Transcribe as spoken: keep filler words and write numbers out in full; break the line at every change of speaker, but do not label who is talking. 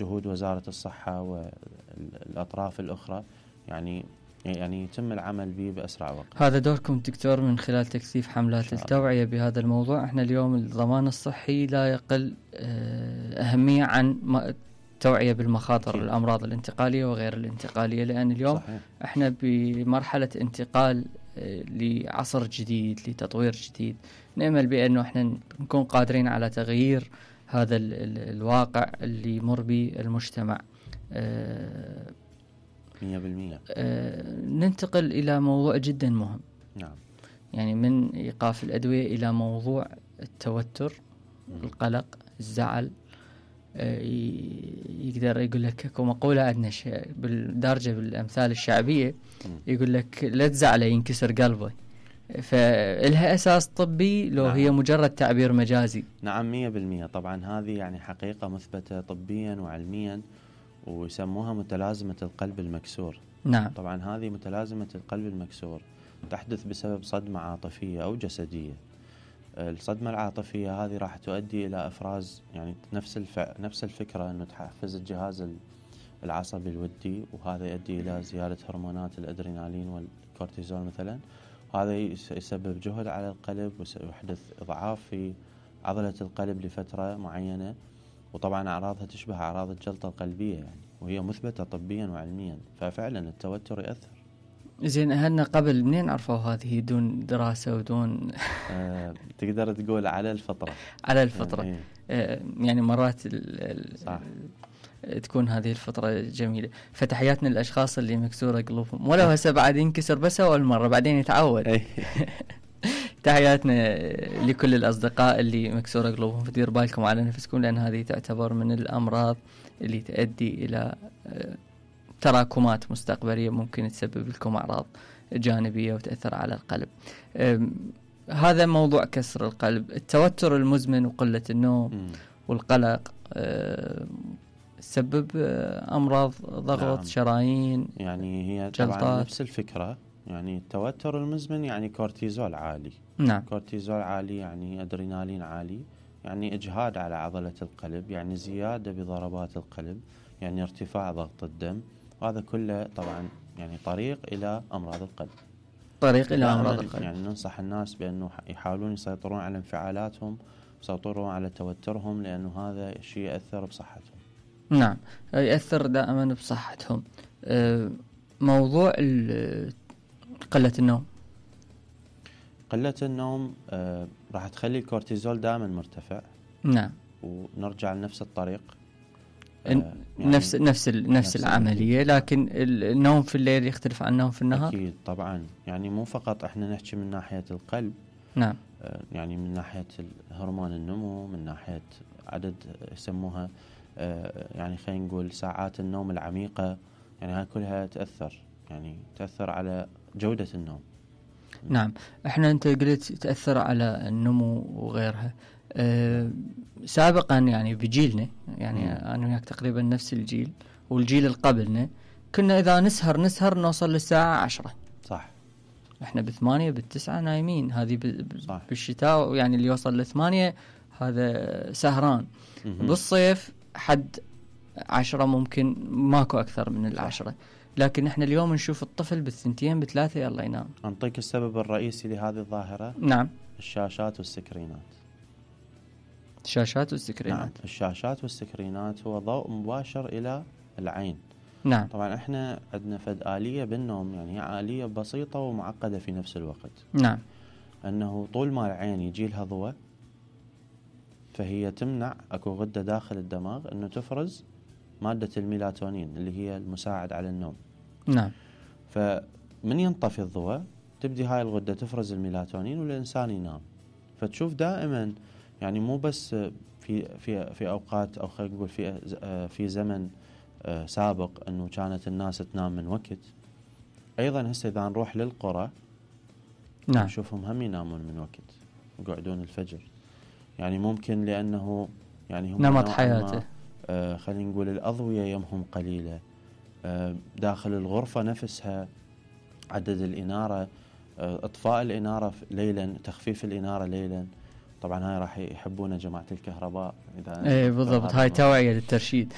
جهود وزارة الصحة والأطراف الأخرى يعني يعني يتم العمل به بأسرع وقت.
هذا دوركم دكتور من خلال تكثيف حملات التوعية بهذا الموضوع. احنا اليوم الضمان الصحي لا يقل أهمية عن التوعية بالمخاطر أكيد. الأمراض الانتقالية وغير الانتقالية، لأن اليوم صحيح. احنا بمرحلة انتقال لعصر جديد لتطوير جديد، نأمل بأنه احنا نكون قادرين على تغيير هذا ال ال الواقع اللي يمر به المجتمع. اه
مية بالمية.
اه ننتقل إلى موضوع جدا مهم.
نعم.
يعني من إيقاف الأدوية إلى موضوع التوتر، م. القلق، الزعل. اه يقدر يقول لك اكو مقولة عندنا بالدارجة بالأمثال الشعبية، م. يقول لك لا تزعله ينكسر قلبه. فإلها أساس طبي لو نعم. هي مجرد تعبير مجازي.
نعم مية بالمية. طبعا هذه يعني حقيقة مثبتة طبيا وعلميا، ويسموها متلازمة القلب المكسور.
نعم.
طبعا هذه متلازمة القلب المكسور تحدث بسبب صدمة عاطفية أو جسدية. الصدمة العاطفية هذه راح تؤدي إلى إفراز يعني نفس الف... نفس الفكرة أنه تحفز الجهاز العصبي الودي، وهذا يؤدي إلى زيادة هرمونات الأدرينالين والكورتيزول مثلا. هذا يسبب جهد على القلب ويحدث إضعاف في عضلة القلب لفترة معينة، وطبعا أعراضها تشبه أعراض الجلطة القلبية يعني، وهي مثبتة طبيا وعلميا. ففعلا التوتر يأثر.
زين أهلنا قبل منين عرفوا هذه دون دراسة ودون
آه، تقدر تقول على الفطرة.
على الفطرة يعني, آه يعني مرات ال
صح.
تكون هذه الفترة جميلة. فتحياتنا للأشخاص اللي مكسورة قلوبهم، ولو هسه بعد ينكسر بس أول مرة بعدين يتعود. تحياتنا لكل الأصدقاء اللي مكسورة قلوبهم، فدير بالكم على نفسكم، لأن هذه تعتبر من الأمراض اللي تؤدي إلى تراكمات مستقبلية ممكن تسبب لكم أعراض جانبية وتأثر على القلب. هذا موضوع كسر القلب. التوتر المزمن وقلة النوم والقلق تسبب أمراض ضغط نعم. شرايين
يعني هي طبعا جلطات. نفس الفكرة. يعني التوتر المزمن يعني كورتيزول عالي.
نعم.
كورتيزول عالي يعني أدرينالين عالي، يعني إجهاد على عضلة القلب، يعني زيادة بضربات القلب، يعني ارتفاع ضغط الدم. وهذا كله طبعا يعني طريق إلى أمراض القلب.
طريق إلى أمراض القلب.
يعني ننصح الناس بأنه يحاولون يسيطرون على انفعالاتهم، يسيطرون على توترهم، لأنه هذا شيء يأثر بصحتهم.
نعم يأثر دائما بصحتهم. موضوع قلة النوم.
قلة النوم آه راح تخلي الكورتيزول دائما مرتفع.
نعم.
ونرجع لنفس الطريق.
آه يعني نفس نفس نفس, نفس العملية، لكن النوم في الليل يختلف عن النوم في النهار.
أكيد طبعا. يعني مو فقط احنا نحكي من ناحية القلب.
نعم.
آه يعني من ناحية هرمون النمو، من ناحية عدد يسموها آه يعني خلينا نقول ساعات النوم العميقة، يعني هاي كلها تأثر يعني تأثر على جودة النوم.
نعم. احنا انت قلت تأثر على النمو وغيرها. أه سابقا يعني بجيلنا، يعني مم. انا وياك تقريبا نفس الجيل والجيل اللي قبلنا، كنا اذا نسهر نسهر نوصل للساعة عشرة.
صح.
احنا بثمانية بالتسعة نايمين. هذه بالشتاء يعني اللي يوصل لثمانية هذا سهران. مم. بالصيف حد عشرة ممكن، ماكو اكثر من العشرة. لكن احنا اليوم نشوف الطفل بالثنتين بثلاثة يلا ينام.
أنطيك السبب الرئيسي لهذه الظاهرة.
نعم.
الشاشات والسكرينات.
الشاشات والسكرينات.
نعم. الشاشات والسكرينات هو ضوء مباشر إلى العين.
نعم.
طبعا احنا عندنا فد آلية بالنوم، يعني هي آلية بسيطة ومعقدة في نفس الوقت.
نعم.
أنه طول ما العين يجي لها ضوء فهي تمنع أكو غدة داخل الدماغ أنه تفرز مادة الميلاتونين اللي هي المساعد على النوم.
نعم.
فمن ينطفي الضوء تبدي هاي الغدة تفرز الميلاتونين والإنسان ينام. فتشوف دائما يعني مو بس في في في أوقات أو خلينا نقول في في زمن سابق أنه كانت الناس تنام من وقت، أيضا هسه إذا نروح للقرى
نعم
نشوفهم هم ينامون من وقت، يقعدون الفجر. يعني ممكن لأنه يعني هم
نمط حياته.
آه خلينا نقول الأضوية يمهم قليلة، آه داخل الغرفة نفسها عدد الإنارة، آه إطفاء الإنارة ليلا، تخفيف الإنارة ليلا. طبعا هاي راح يحبون جماعة الكهرباء إذا
ايه بالضبط، هاي توعية للترشيد.